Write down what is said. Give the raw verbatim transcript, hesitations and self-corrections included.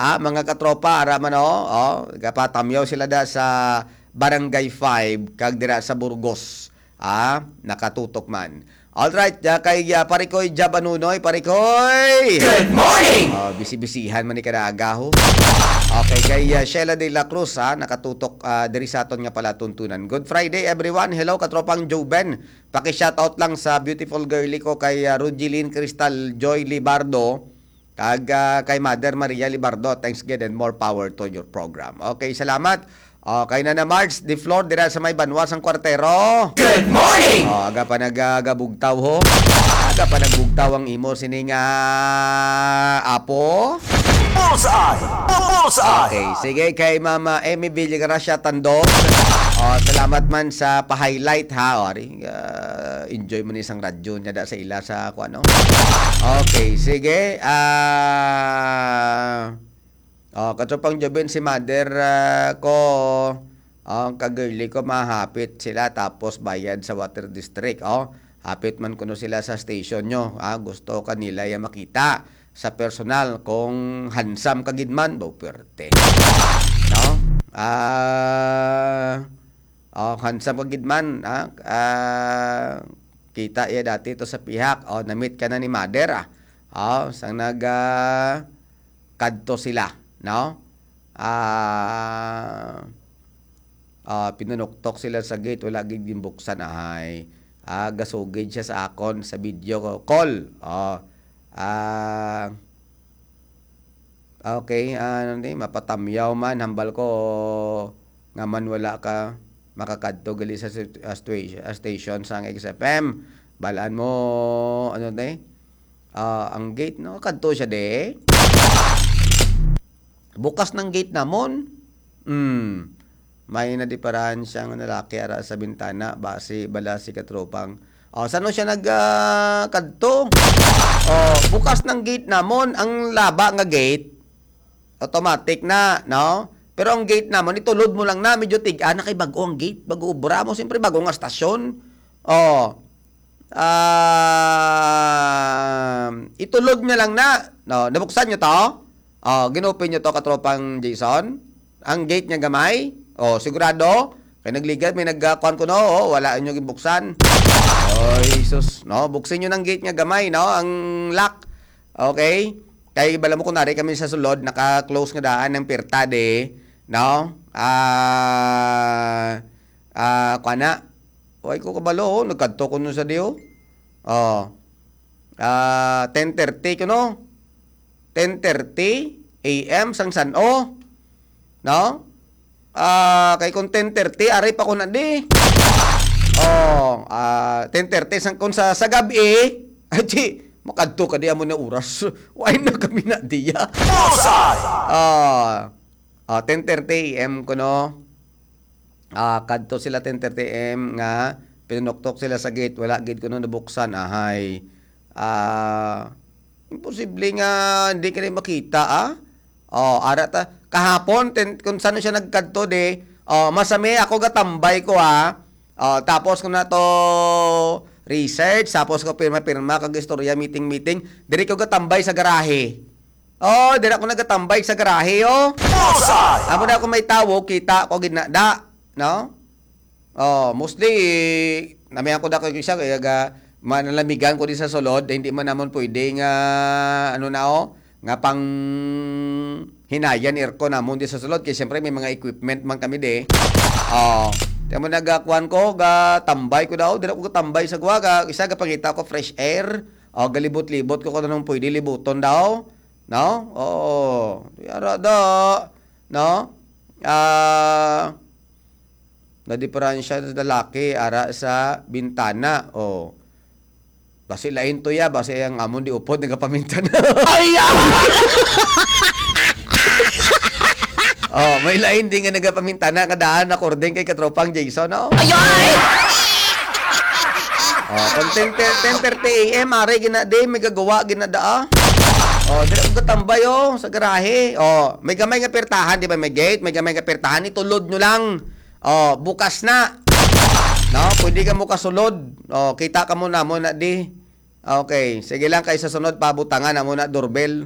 Ah, mga katropa, ara man, oh, oh, gapatamyaw sila da sa Barangay five kag dira sa Burgos. Ah, nakatutok man. Alright, ah, kay, ah, Parikoy Jab Anunoy, Parikoy! Good morning! Oh, bisi-bisihan man ni kada aga, ho. Okay, kay, ah, Sheila de la Cruz, ha, nakatutok, ah, diri sa aton nga palatuntunan. Good Friday, everyone. Hello, katropang Joven. Paki-shoutout lang sa beautiful girly ko kay, ah, Rugeline Crystal Joy Libardo. Kag, ah, kay Mother Maria Libardo, thanks again and more power to your program. Okay, salamat. Okay, Nana Marge de Flor, dira sa may banwa sang kwartero. Good morning! Oh, aga pa nagagabugtaw, ho. Aga pa nagbugtaw ang imo sining, ah, apo. Bullseye! Bullseye! Okay, sige, kay Mama Emmy Villagracia Tandon. Oh, salamat man sa pa-highlight, ha. O, ari, ah, enjoy mo ni isang radyo niya da sa ila sa, kung ano. Okay, sige. Ah, oh, katropang Joven, si mother, ah, ko, ang kagirli ko, mahapit sila tapos bayad sa water district. Oh, hapit man kuno sila sa station nyo. Ah, gusto kanila ya makita sa personal kung handsome ka gid man, daw perte. No? Ah, oh, handsome ka gid man, ah, ah, kita iya dati to sa pihak. Oh, namit ka na ni mother, ah. Oh, sang nag, ah, kadto sila, no? Ah, ah, pinunuktok sila sa gate, wala gid ginbuksan, ahay. Ah, gasugid siya sa akon sa video call. Oh, ah, okay, ah, ano ni, mapatamyaw man, hambal ko nga man wala ka makakadto gali sa sit-, ah, stua-, ah, station sang X F M. Balaan mo, ano ni? Ah, ang gate, no? Kadto siya, de. Bukas ng gate namon. Hmm. May nadiparahan siyang lalaki ara sa bintana, basi bala si katropang. Oh, sano siya nag, ah, kadto? Oh, bukas ng gate namon, ang laba nga gate. Automatic na, no? Pero ang gate namon, itulod mo lang na, medyo tig-a na kay bag-o ang gate, bag-o obra mo, siyempre bag-o nga stasyon. Oh. Ah, itulod niya lang na, no? Nabuksan niyo to? Oh, gin-open niyo to, katropang Jason? Ang gate niya gamay? Oh, sigurado? Kay nagligat, may nagkuan ko, no? Oh, wala inyo ginbuksan. Oh, Jesus, no? Buksin niyo ng gate niya gamay, no? Ang lock. Okay? Kay bala mo, kunwari kami sa sulod, naka-close nga daan ang pirta, de, no? Ah, ah, kuan na. Way ko kabalo, oh, nagkadto ko nun sa diyo. Oh. Ah, ten thirty ko, no? Ten thirty A M sang san-o, no? Ah, kay kung ten thirty, ari pa ko na di. Oh, ah, ten thirty sang, kung sa, sa gab-i, ay, di, makadto ka di amo na oras. Why na kami na diya? Bullseye! Ah, ah, ten thirty A M ko, no? Ah, kadto sila ten thirty A M nga pinunuktok sila sa gate, wala gid kuno nabuksan, ahay. Ah, imposible nga hindi ka na makita, ah. Oh, ara ta, kahapon, ten, kung saan siya nagkadto, de, oh, masami ako gatambay ko, ah. Oh, tapos ko na to research, tapos ko pirma-pirma kag istorya, meeting-meeting. Diri ko gatambay sa garahe. Oh, dira ko nagatambay sa garahe, oh. Bullseye! Amo na ako may tawo, kita ko gid na da, no? Oh, mostly, namihan ko da ko isa, kaya ga, manalamigan ko di sa sulod, hindi man namon pwede nga, ano na, oh, nga pang hinayan aircon namon di sa sulod, kay siyempre may mga equipment man kami di. Oh, kaya mo nagakuan ko, gatambay ko daw, dira ko gatambay sa guwa, ga, isa gapangita ko fresh air, oh, galibot-libot ko kung anong pwede libuton daw. No? Oo. Yara da. No? Ah, nadiparansya sa lalaki, ara sa bintana. Oh. Basi lain to ya, basi ang amon di upod nagapamintana. Ay, ah! Oh, may lain din nga nagapamintana nga daan according kay katropang Jason, no? Ay, ay! Oh, kung ten, ten, ten thirty A M, are gina di, may gagawa, gina daa. Oh, dira ko gatambay, oh, sa garahe. Oh, may gamay nga pertahan, di ba? May gate, may gamay nga pertahan, itulod nyo lang. Oh, bukas na. No, pwede ka mo kasulod. Oh, kita ka mo na mo na di. Okay, sige lang kay sa sunod pabutangan na mo na doorbell.